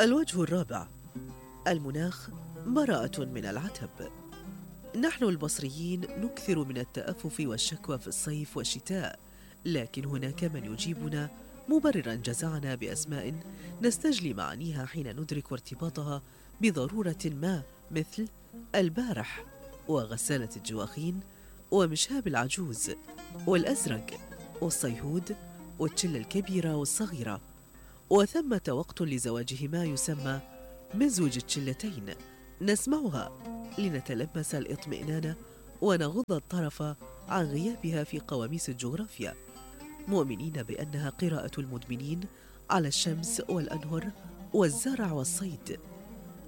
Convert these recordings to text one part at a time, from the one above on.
الوجه الرابع: المناخ براءة من العتب. نحن البصريين نكثر من التأفف والشكوى في الصيف والشتاء، لكن هناك من يجيبنا مبرراً جزعنا بأسماء نستجلي معانيها حين ندرك ارتباطها بضرورة ما، مثل البارح، وغسالة الجواخين، ومشهاب العجوز، والأزرق، والصيهود، والشلة الكبيرة والصغيرة. وثمة وقت لزواجهما يسمى مزوج الشلتين، نسمعها لنتلمس الاطمئنان ونغض الطرف عن غيابها في قواميس الجغرافيا، مؤمنين بأنها قراءة المدمنين على الشمس والأنهر والزرع والصيد،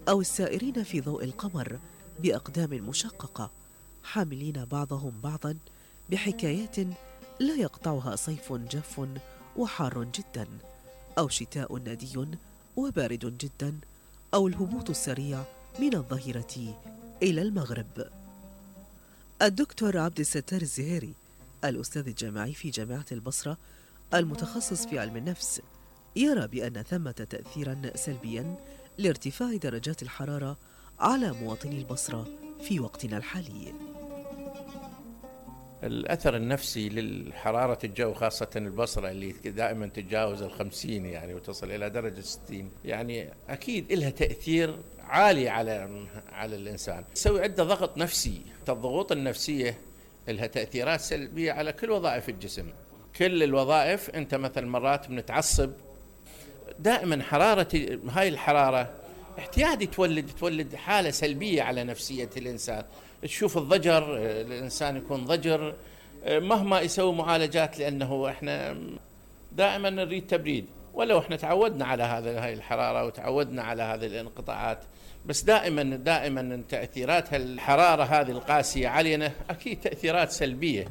أو السائرين في ضوء القمر بأقدام مشققة، حاملين بعضهم بعضا بحكايات لا يقطعها صيف جاف وحار جدا، أو شتاء ندي وبارد جدا، أو الهبوط السريع من الظهيرة إلى المغرب. الدكتور عبد الستار الزهيري، الأستاذ الجامعي في جامعة البصرة المتخصص في علم النفس، يرى بأن ثمة تأثيرا سلبيا لارتفاع درجات الحرارة على مواطني البصرة في وقتنا الحالي. الأثر النفسي للحرارة الجو خاصة البصرة اللي دائما تتجاوز 50 يعني وتصل إلى درجة 60، يعني أكيد إلها تأثير عالي على الإنسان، تسوي عنده ضغط نفسي. الضغوط النفسية إلها تأثيرات سلبية على كل وظائف الجسم، كل الوظائف. أنت مثلا مرات بنتعصب دائما، حرارة هاي الحرارة احتيادي تولد حالة سلبية على نفسية الإنسان. تشوف الضجر، الإنسان يكون ضجر مهما يسوي معالجات، لأنه إحنا دائما نريد تبريد، ولو إحنا تعودنا على هاي الحرارة وتعودنا على هذه الانقطاعات، بس دائما تأثيرات الحرارة هذه القاسية علينا أكيد تأثيرات سلبية.